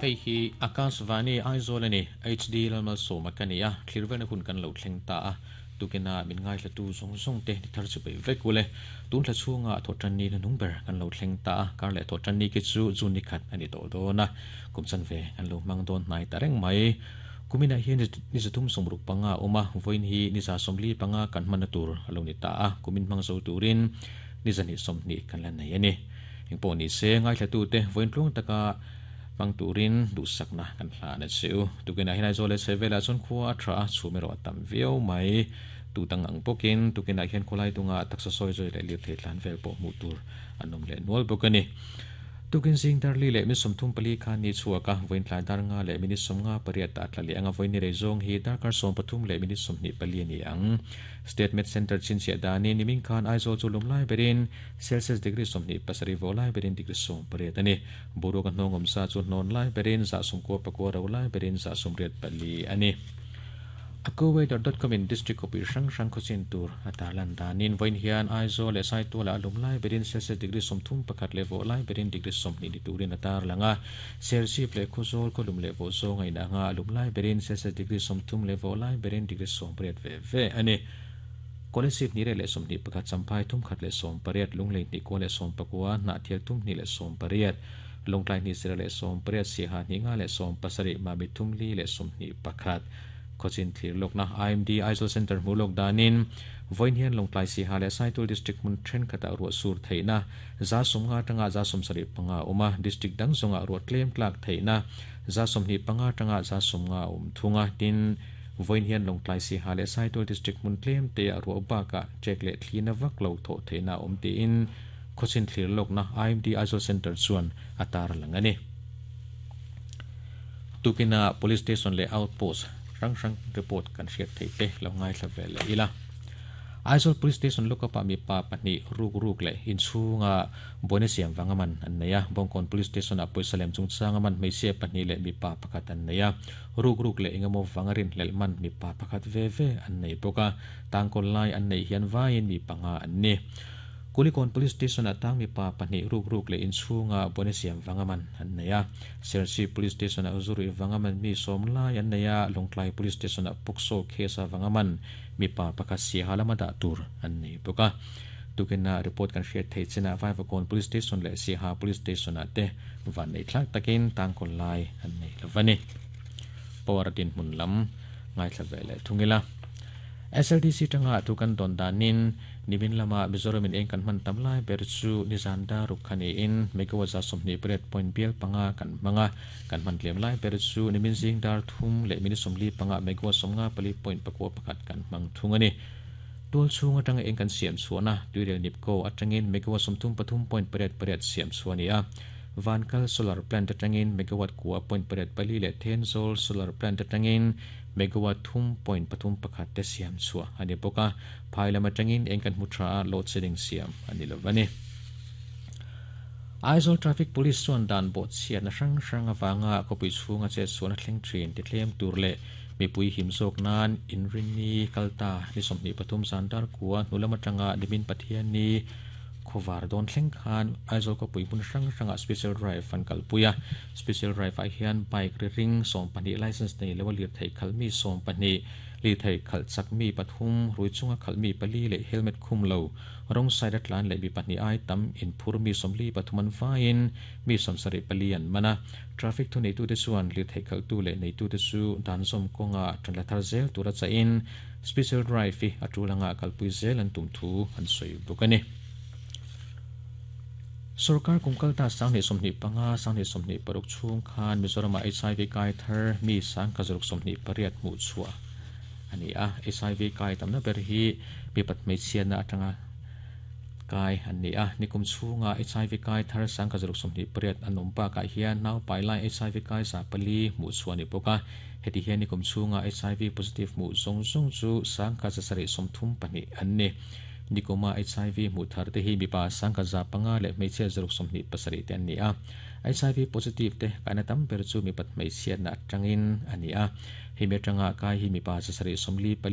Hei hi Akashvani Aizawl a ni, HD Lalmalsawma ka ni a, thlirvelna hun kan lo thleng ta a, tukina min ngaithlatu zawng zawng te ni thar chu peih vek ule. Tun thla chhunga thawhtanni hnuhnung ber kan lo thleng ta a, kar leh thawhtanni khi chu June ni khat a ni tawh dawn a, kum chanve kan lo hmang dawn hnai ta reng mai. Kuminah hian ni zathum sawmruk panga a awm a, vawiin hi ni za sawmli panga kan hmanna tur a lo ni ta a, kumin hmang zo turin ni zahnih sawmhnih kan la nei a ni. Engpawh ni se, ngaithlatute vawiin tluang taka hmang turin duhsakna kan hlan a che u. Tukinah hian Aizawl leh Chhehvelah chuan khua a tha a, chhum erawh a tam viau mai. Tu dang ang bawkin tukinah hian khawlai dunga taksa sawi zawi leh lirthei tlan vel pawh hmuh tur an awm leh nual bawk a ni. Tukin zing darli leh mi 34 khan ni chhuak a, vawiin tlai dar nga leh minute 58 ah tla leh anga vawiin ni rei zawng hi darkar 13 leh minute 24 a ni ang. State Med Centre chhinchhiah danin nimin khan Aizawl chu lum lai berin Celsius degree 27 vawh lai berin degree 18 a ni. Boruak a hnawng awm sa chu hnawn lai berin 94 ro lai berin 84 a ni. Accuweather dot com in district khawpui hrang hrang khawchin tur a tarlan danin vawiin hian Aizawl leh Saitualah a lum lai berin Celsius degree 31 leh vawh lai berin degree 20 ni turin a tarlang a. Serchhip leh Khawzawl khaw lum leh vawh zawng a inang a, a lum lai berin Celsius degree 30 leh vawh lai berin degree 18 ve ve a ni. Kolasib 221, Champhai 318, Lunglei 219, Hnahthial 318, Lawngtlai 218, Siaha 257, Mami 321. Khawchin thlir lawkna IMD Aizawl Centre hmuh lawk danin vawiin hian Lawngtlai Siaha leh Saitual District hmun thenkhatah ruah sur theihna 50 atanga 75 a awm a, District dang zawngah ruah tlem tlak theihna 25 atanga 50 a awm thung a, tin, Vawiin hian Lawngtlai Siaha leh Saitual District hmun tlem te ah ruah bakah ṭek leh thlina vak lo thawh theihna a awm tiin khawchin thlir lawkna IMD Aizawl Centre chuan a tarlang a ni. Tukin ah Police Station leh Outpost hrang hrang report kan hriat theih te lo ngaithla ve leh ila. Aizawl Police Station lookup ah mipa pahnih ruk ruk leh inchhunga buaina siam vanga man an nei a. Bawngkawn Police Station ah pawisa lem chungchanga man hmeichhia pahnih leh mipa pakhat an nei a. Ruk ruk leh engemaw vanga rinhlelh man mipa pakhat ve ve an nei bawk a, tangkawl lai an neih hian vaiin mi panga an ni. Kulikawn Police Station ah tang mipa pahnih ruk ruk leh inchhunga buaina siam vanga man an nei a, Serchhip Police Station ah zuruih vanga man mi sawm lai an nei a, Lawngtlai Police Station ah Pawksaw case a vanga man mipa pakhat siaha lama dah tur an nei bawk a. Tukin-a report kan hriat theih chinah Vaivakawn Police Station leh Siaha Police Station ah te vannei thlak takin tangkawl lai an nei lo va ni. Power dinhmun lam ngaithla ve leh thung ila. SLDC tanga thu kan dawn danin nimin lama Mizoram in eng kan hman tam lai ber chu nizan daruk kha niin megawatt 28 point bial panga kan hmang a, kan hman tlem lai ber chu nimin zing dar thum leh minute 45 megawatt 54 point pakua pakhat kan hmang thung a ni. Tual chhung atanga eng kan siam chhuahna tuirel Nipco atangin megawatt 33 point pariat pariat siam chhuah a ni a. Vankal Solar Plant atangin megawatt kua point pariat pali leh Thenzawl Solar Plant atangin megawatt thum point pathum pakhat te siam chhuah a ni bawk a. Phai lam atangin eng kan hmu tha a, load shedding siam a ni lo a ni. Aizawl Traffic Police chuan dan bawhchhiatna hrang hrang avanga khawpui chhunga chetsualna thleng thin tithlem tur leh Mipui him zawk nan inrinni kal ta ni 23 zan dar kua hnu lam atanga nimin Pathianni khawvar dawn thleng khan Aizawl khawpui hmun hrang hrangah Special Drive an kalpui a. Special Drive ah hian bike ri ring 12 licence nei lo a lirthei khalh mi 12, lirthei khalh chak mi pathum, rui chunga khalh mi pali leh helmet khum lo rawng side a tlan leh mi pahnih ai tam inphur mi 43 an vaiin mi 74 an man a. Traffic thuneitute chuan lirthei khalhtu leh neitute chu dan zawm kawnga tan la thar zel tura chahin Special Drive hi a tul anga kalpui zel an tum thu an sawi bawk a ni. Sorkar kum kalta 2025, 2026 chhung khan Mizoramah HIV kai thar mi 1028 hmuh chhuah a ni a. HIV kai tamna ber hi mipat hmeichhiatna atanga Kai an ni a, nikum chhunga HIV kai thar 1028 an awm bakah hian naupai lai HIV kai 400 hmuh chhuah a ni bawk a. Heti hian nikum chhunga HIV positive hmuh zawng zawng chu 1734 an ni. Nikuma HIV hmuh thar te hi mipa 105 leh hmeichhia 27 te an ni a. HIV positive te kaina tam ber chu mipat hmeichhiatna atangin a ni a. Hemi atanga kai hi mipa 744.